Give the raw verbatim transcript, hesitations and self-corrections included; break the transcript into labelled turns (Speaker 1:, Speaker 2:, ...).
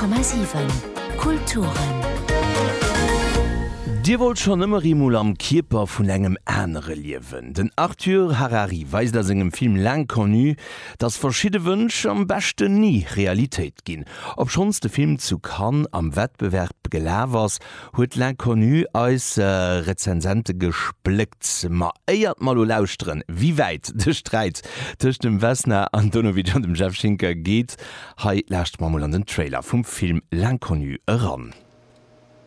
Speaker 1: Komma siwen Kulturen.
Speaker 2: Dir wollt schonn ëmmer eemol am Kierper vun engem anere liewen? Den Arthur Harari weist a sengem Film L'Inconnu, dass verschidde Wënsch am beschten ni Realitéit ginn. Obschonns de Film zu Cannes am Wettbewerb gelaf ass, huet L'Inconnu eis Rezensente gespléckt. Ma éiert mer lo lauschteren, wéi wäit de Sträit tëscht dem Vesna Antonovic an dem Jeff Schinker geet, hei lauschte mer mol an den Trailer vum Film L'Inconnu eran.